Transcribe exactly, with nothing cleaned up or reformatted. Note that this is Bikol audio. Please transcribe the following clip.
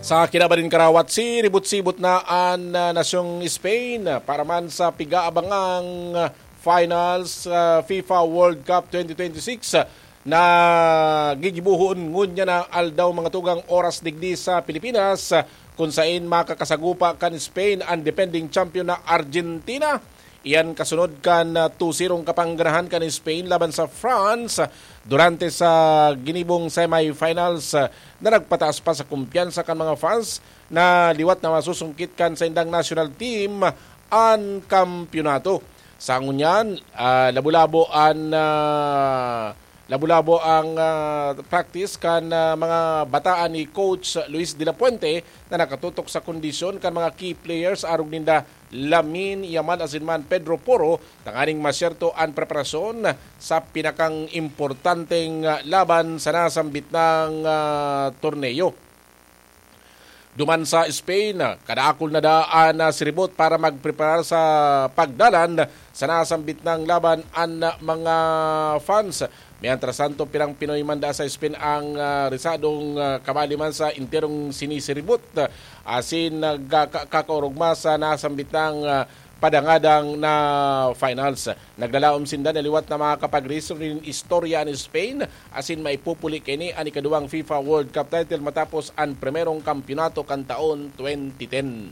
Sa kinabaning karawat, siribot-sibot na an ah, nasyong Spain para man sa pigaabangang finals ah, FIFA World Cup twenty twenty-six na gigibuhon ngunyan na aldaw, mga tugang, oras digdi sa Pilipinas, kun sain makakasagupa kan Spain an defending champion na Argentina. Iyan kasunod kan ah, two zero kapangganahan kan Spain laban sa France durante sa ginibong semifinals ah, na nagpataas pa sa kumpiyansa kan mga fans na liwat na masusungkit kan saindang national team an kampyonato. Sa ngunyan, ah, labo-labo an ah, labo-labo ang ah, practice kan ah, mga bataan ni Coach Luis de la Puente na nakatutok sa kondisyon kan mga key players, arog ninda Lamine Yamal asin man Pedro Porro, tanganing masyerto an preparasyon sa pinakang importanteng ah, laban sa nasambit na ah, torneo. Duman sa Spain, kadakul na daan na siribot para magpreparar sa pagdalan sa nasambit na laban an mga fans. Mientras tanto, pirang Pinoy man da sa Spain ang ah, risadong ah, kabali man sa enterong sinisiribot, ah, asin nagkakaorogma sa nasambit na ah, padangadang na finals. Naglalaom sinda na liwat na makakapag-rehistro nin istorya an Spain, asin maipupuli kaini an ikaduwang FIFA World Cup title matapos an primerong kampyonato kan taon twenty ten.